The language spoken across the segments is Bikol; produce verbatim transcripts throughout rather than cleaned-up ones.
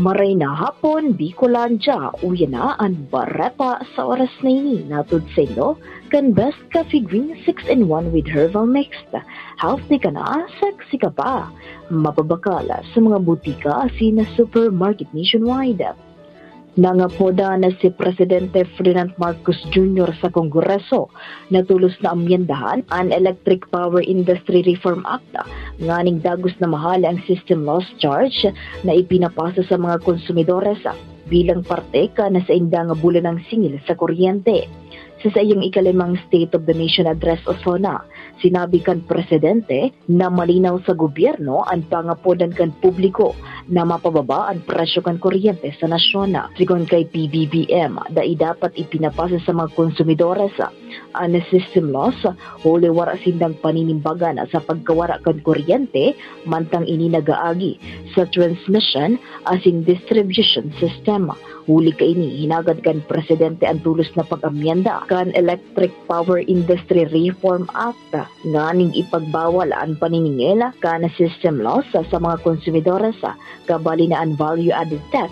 Maray na hapon, Bicolandia. Uya na an bareta sa oras na ini. Natud sa inyo kan Best Coffee Green six-in-one with Herbal Mix. Healthy ka na, sexy ka pa. Mababakal sa mga butika asin supermarket nationwide. Nangapoda na si Presidente Ferdinand Marcos Junior sa Kongreso na tolos na amyendahan an Electric Power Industry Reform Act, nganing dagos na mahale ang system loss charge na ipinapasa sa mga konsumidores bilang parte kan sainda nga bulanang singil sa kuryente. Sa saiyang ikalimang State of the Nation Address o SONA, sinabi kan presidente na malinaw sa gobyerno an pangapodan kan publiko na mapababa an presyo kan kuryente sa nasyon. Sigon kay P B B M, dai dapat ipinapasa sa mga konsumidores an system loss, huli wara sindang paninimbagan sa pagkawara kan kuryente, mantang ini nagaagi sa transmission asin distribution system. Huli kaini, hinagad kan presidente an tolos na pag-amyenda kan Electric Power Industry Reform Act, nganing ipagbawal an paniningil kan system loss sa mga konsumidores, kabali na an value-added tax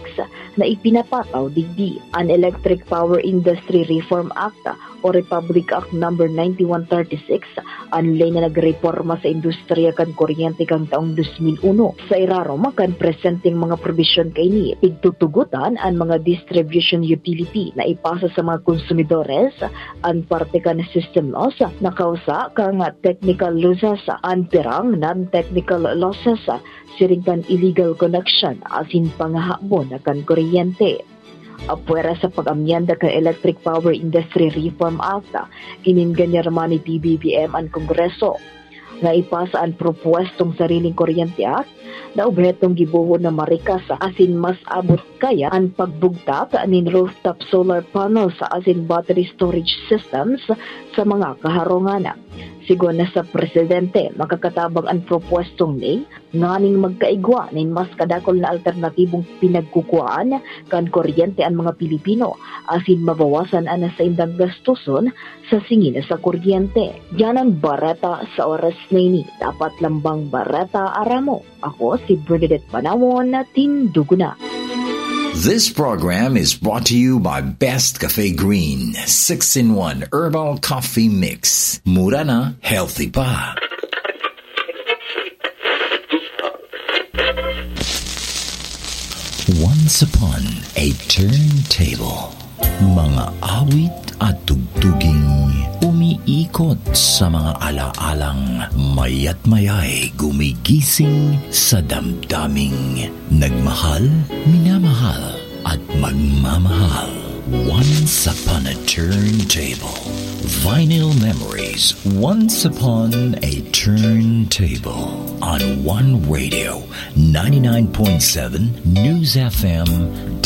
na ipinapataw digdi. An Electric Power Industry Reform Act o Republic Act Number ninety-one thirty-six, an ley na nagreporma sa industriya kan kuryente kan taong dos mil uno. Sa irarom kan presenteng mga probisyon kaini, pigtutugotan an mga distribution utility na ipasa sa mga konsumidores an parte kan system loss na kausa kan technical losses, an pirang non-technical losses, siring kan illegal connection asin pangahabon kan kuryente. Apwera sa pag-amyenda kan Electric Power Industry Reform Act, inenganyar man ni P B B M an Kongreso na ipasa an propuwestong Sariling Kuryente Act na obhetong gibohon na marikas asin mas abot kaya an pagbugtak nin rooftop solar panels asin battery storage systems sa mga kaharungan. Sigon na sa presidente, makakatabang an propuwestong ley nganing magkaigwa nin mas kadakul na alternatibong pinagkukuhaan kan kuryente an mga Pilipino asin mabawasan an saindang gastoson sa singil sa kuryente. Yan an bareta sa oras na ini. Dapat lambang bareta, aram mo. Ako si Bernadette Panawon na Tinduguna. This program is brought to you by Best Cafe Green six-in-one Herbal Coffee Mix. Mura na, healthy pa. Once upon a turntable. Mga awit at tugtuging umiikot sa mga alaalang mayat mayay gumigising sa damdaming nagmahal, minamahal, at magmamahal. Once upon a turntable. Vinyl Memories, Once Upon a Turntable. On One Radio, ninety-nine point seven News F M,